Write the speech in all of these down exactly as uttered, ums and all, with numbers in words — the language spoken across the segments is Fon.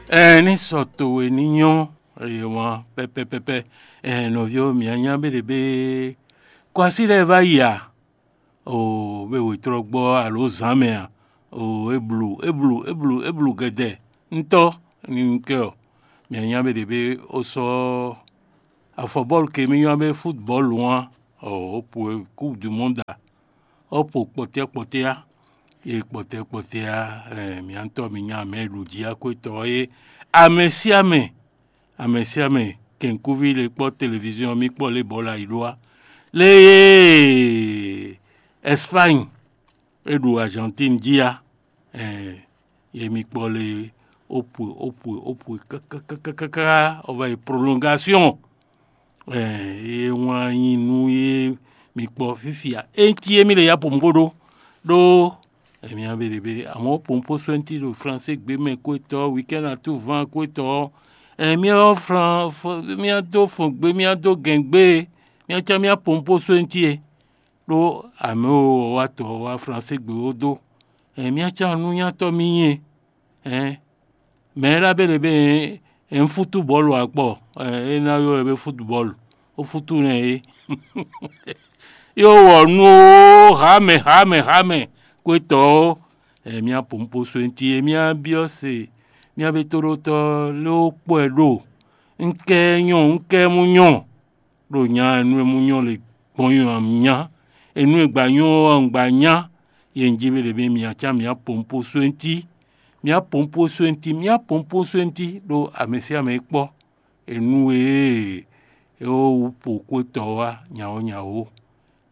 Ɛɛ, ní sɔ towe ní nyɔ́, eye wǎn pɛ́pɛ́pɛ́pɛ́. Ɛɛ, nɔví ɔ́, mǐ ányá bé ɖě bé kɔ así lɛ́ɛ vá yi a? Oo, bé wětrɔ́gbɔ alo zǎn mɛ a? Oo, é blu, é blu, é blu, é blu gɛdɛ. Ntɔ́ ní kɛ ɔ, mǐ ányá bé ɖě bé ó sɔ́ afɔbɔ́lu ke mì ylɔ́ bé futbɔ́lu ɔ́, ɔ, ó po kúpu du mɔ́ da, ó po kpɔtɛ́ kpɔtɛ́ á, e kpɔtɛ́ kpɔtɛ́ á, ɛ, mǐ ntɔ́ mǐ nya mɛ ɖu jí akwétɔ é, amɛ sín amɛ, amɛ sín amɛ, kɛ̌nkúví lě kpɔ́ televiziɔn mì kpɔ́ lě bɔ la yi ɖó á, lě e Ɛspány é ɖo Azantín jí á, ɛ, ye mì kpɔ́ lě ó pwe ó pwe ó pwe káká ɔ́ va yi prolongasiɔn. Ye wlán nyi nú ye mi kpɔ fífia. Enti e mi le ya pompo ɖó ɖó emi abe ɖebe amɔ̌ pompo sɔ́nti ɖo Fransé gbé mɛ kwétɔ́ wikɛ́n atu van kwétɔ́. Ɛ miá flan miá dó fɔn gbé miá dó gɛn gbé miá cá miá pompo sɔ́nti e ɖó amɛ o wá tɔ wá Fransé gbé ó dó. Ɛ miá cá nú nyátɔ́ mi nyí e. Ɛn mɛ e ɖɔ abéle bé, ɛn futubɔlu akpɔ, ɛn é ná ylɔ́ ɛ bé futubɔlu, ó futu nɛ é. Yó wɔ nú ó, hamɛ hamɛ hamɛ, kwétɔ́ ó, ɛn mía pompo sɔ́ nti é mía byɔ́ se, mía bé tóɖótɔ́ lé ó kpɔ́ ɛ ɖo. Un kɛ nyɔ un kɛ mú nyɔ ɖo nya e nú e mú nyɔ le gbɔn nyi ɔ́ nya, e nú e gba nyɔ ɔ́ un gba nya. Ye un jí be ɖě mɛ mǐ acá mǐ apompo sónti, mǐ apompo sónti, mǐ apompo sónti ɖó amɛ sín amɛ e kpɔ́, e nú e é wú po kwétɔ́ wá nyawǒ nyawǒ.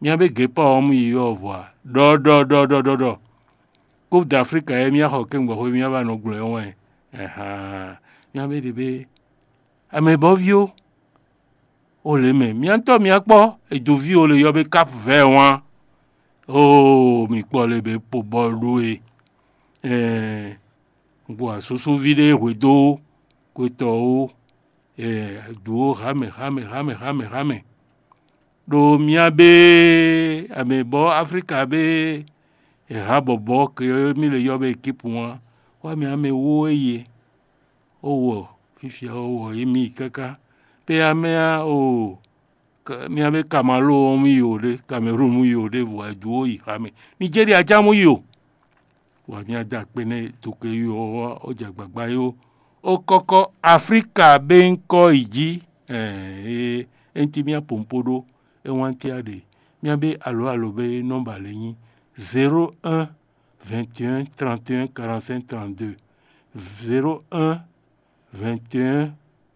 Mǐ abé gěpá ɔ́ mú yi ɔ́ vɔ a? Ɖɔ ɖɔ ɖɔ ɖɔ ɖɔ ɖɔ. Coupe d'Afrique e mǐ xɔ kɛ́ngbɔxwe mǐ ba nɔ gblɔ ɛ wɛn. Ɛhan. Mǐ abé ɖě bé amɛ bɔ́ví ó. O lě mɛ, mía ŋutɔ́ mía kpɔ́, è dǒ ví o le yɔ bé Cap Vert wán. Oo, mi kpɔ le bě po bɔlu ɖó e. Ɛɛ, un kpo asúsúví ɖé hwedó kwetɔ́ ó. Ɛɛ, dǒ ó hámɛ hámɛ hámɛ hámɛ hámɛ. Ɖo mía bé amɛ bɔ Aflíka bé è há bɔbɔ ke mí le yɔ bé ekipu wán, wá mí amɛ wó eye. Ó wɔ fífia ó wɔ yě mì yi káká. Pé amɛ á o mía bé Kamalóo ɔ́ mú yi o ɖé, Kamerúnu mú yi o ɖé vɔ è dǒ ó yi xá mɛ. Nijéria já mú yi o. Wǎ mía dó akpé nɛ́ doke yi ɔ́ wá ó jɛ agbagba yi ó. Ó kɔ́kɔ́ Aflíka bé ŋkɔ yi jí. Ɛɛ é ŋuti mía pompo ɖó é wán tíá ɖe. Mía bé alo alo bé nɔ́ba lě nyí zéro un vingt et un trente et un quarante-cinq trente-deux, zéro un vingt et un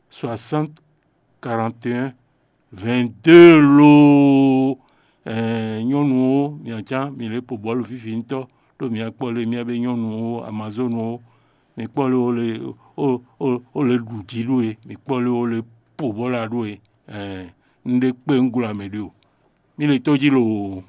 soixante quarante et un vingt-deux loo. Ɛɛ nyɔ́nu ó, mi acán mi lě po bɔ̌lu fífi ŋutɔ́, ɖó mi akpɔ́ lé mía bé nyɔ́nu ó, Amazonu ó, mi kpɔ́ lé ó lé ó ó ó lé ɖu jí ɖó e, mi kpɔ́ lé ó lé po bɔ́ la ɖó e. Ɛɛ un ɖe kpé un glo amɛ ɖé o. Mi le tó jí loo.